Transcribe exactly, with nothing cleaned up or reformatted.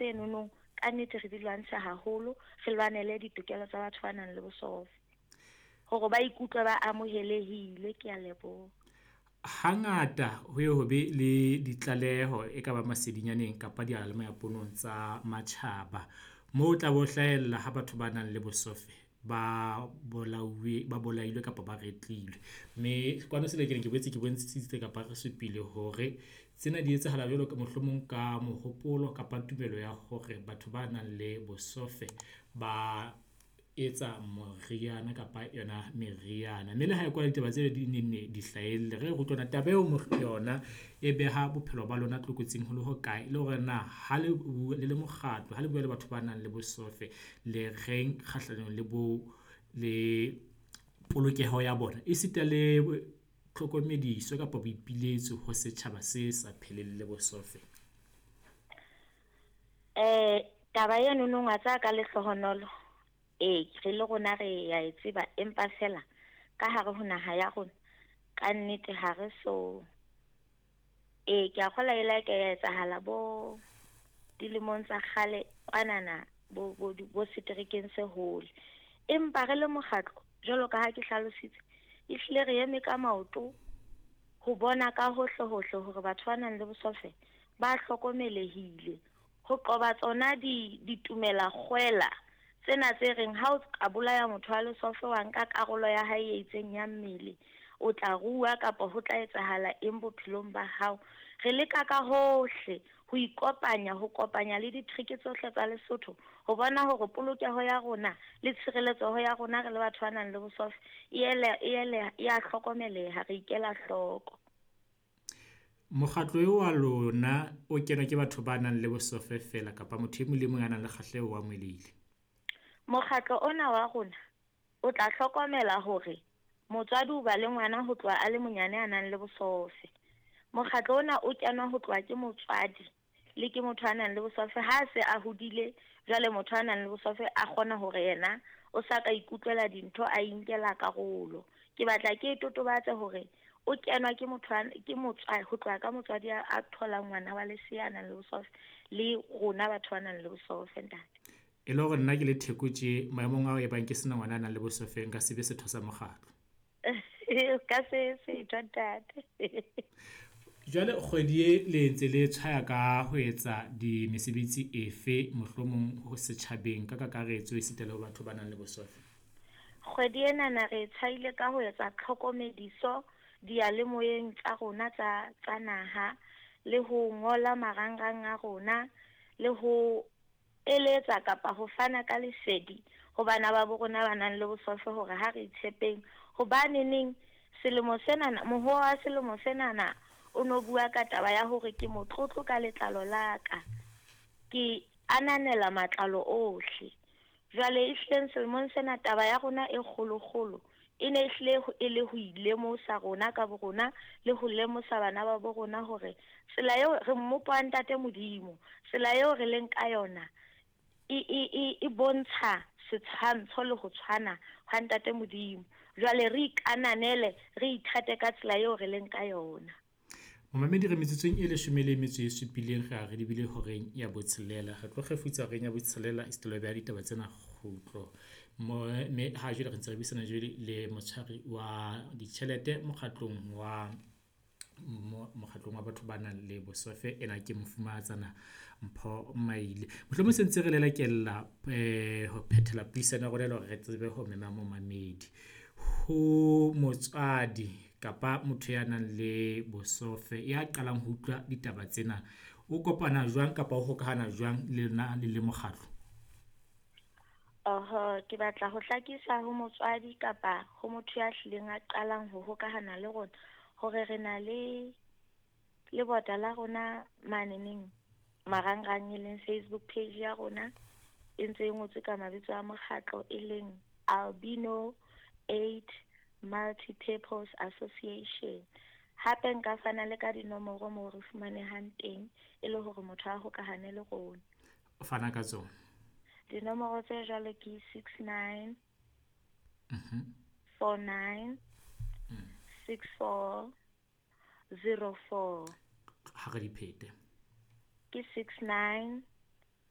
tsenono ka nnete re di lwantshe haholo, re lwanele ditokelo tsa batho ba nang le bosofe hore ba ikutlwe ba amohelehile. Ke a leboha. Hangata ho ye ho be le ditlaleho e ka ba masedinyaneng kapa diyalemoyaponong tsa matjhaba moo o tla bo hlahella ha batho ba nang le bosofe ba bolauwe, ba bolailwe kapa ba retlilwe. Mme kwano Selelekela ke boetse ke bontshitse kapa re supile hore tsena di etsahala jwalo ka mohlomong ka mohopolo kapa tumelo ya hore batho ba nang le bosofe ba etsa moriana kapa yona meriana. Mme le ha e kwala ditaba tsena di nenne di hlahelle, re re utlwe taba eo yona e beha bophelo ba lona tlokotsing ho le hokae? Le hore na ha le le le mokgatlo, ha le bua le batho ba nang le bosofe le reng kgahlanong le bo, le polokeho ya bona esita le tlhokomediso kapa boipiletso ho setjhaba se sa pheleng le bosofe? Taba eno wa tseba ka lehlohonolo, ee, re le rona re ya e tseba, empa fela ka hare ho naha ya rona ka nnete ha re so. Ee, ke a kgolwa e la ka ya etsahala bo dilemong tsa kgale kwanana bo bo bo seterekeng se hole. Empa re le mokgatlo jwalo ka ha ke hlalositse, ehlile re eme ka maoto ho bona ka hohle hohle hore batho ba nang le bosofe ba hlokomelehile ho qoba tsona di ditumela kgwela tsena tse reng ha o ka bolaya motho wa lesofe wa nka karolo ya hae e itseng ya mmele, o tla rua kapa ho tla etsahala eng bophelong ba hao. Re leka ka hohle ho ikopanya, ho kopanya le ditrike tsohle tsa Lesotho ho bona hore polokeho ya rona le tshireletseho ya rona re le batho ba nang le bosofe e ele e ele ya hlokomeleha, re ikela hloko. Mokgatlo eo wa lona o kenwa ke batho ba nang le bosofe fela kapa motho e mong le mong a nang le kgahleho o amohelehile? Mokgatlo ona wa rona o tla hlokomela hore motswadi o ba le ngwana ho tloha a le monyane a nang le bosofe. Mokgatlo ona o kenwa ho tloha ke motswadi le ke motho a nang le bosofe ha se a hodile. Jwale motho a nang le bosofe a kgona hore yena o sa ka ikutlwela dintho, a inkela karolo. Ke batla ke totobatse hore o kenwa ke motho a, ke motswadi, ho tloha ka motswadi a, a tholang ngwana wa lesea a nang le bosofe le rona batho ba nang le bosofe, ntate. E le hore nna ke le Theko tje maemong ao e bang ke sena ngwana a nang le bosofe, nka se be setho sa mokgatlo. Ka se setho, ntate. Jwale kgwedi e le ntse le tshwaya ka ho etsa di mesebetsi efe mohlomong ho setjhabeng ka kakaretso esita le ho batho ba nang le bosofe? Kgwedi enana re tshwaile ka ho etsa tlhokomediso diyalemoyeng tsa rona tsa, tsa naha, le ho ngola marangrang a rona, le ho eletsa kapa ho fana ka lesedi ho bana ba bo rona ba nang le bosofe hore ha re itshepeng. Hobane neng selemo senana, mohoo wa selemo senana o no bua ka taba ya hore ke motlotlo ka letlalo la ka, ke ananela matlalo ohle. Jwale ehlileng selemong sena taba ya rona e kgolokgolo e ne ehlile ho, e le ho ilemosa rona ka bo rona le ho lemosa bana ba bo rona hore tsela eo re mmopo wa Ntate Modimo, tsela eo re leng ka yona e, e, e, e bontsha setshwantsho le ho tshwana hwa Ntate Modimo. Jwale re ikananele, re ithate ka tsela eo re leng ka yona. Momamedi, re metsotsong e leshome le metso e supileng re a re lebile horeng ya botshelela. Re tlo kgefutsa horeng ya botshelela esita le ho beha ditaba tsena kgutlo. Mo, mme ha jwale re ntse re buisana jwale le motshwari wa ditjhelete mokgatlong wa mokgatlong wa batho ba nang le bosofe. Ena ke mofumahatsana Mpho Maile. Mohlomong se ntse re lelekella eh ho phethela puisano ya rona le hore re tsebe ho mema momamedi. Ho motswadi kapa motho ya nang le bosofe ya qalang ho utlwa ditaba tsena, o kopana jwang kapa o hokahana jwang le lona le le mokgatlo? Oho, ke batla ho hlakisa ho motswadi kapa ho motho ya hlileng a qalang ho hokahana le rona hore re na le lebota la rona maneneng marangrang e leng Facebook page ya rona e ntse e ngotswe ka mabitso a mokgatlo e leng Albino Eight Multipurpose Association. Hape nka fana le ka dinomoro moo re fumanehang teng e le hore motho a hokahane le rona. O fana ka tsona. Dinomoro tse jwalo ke six nine, Mhm. four nine, Mm. six four, zero four. Ha re di phete. Ke six nine,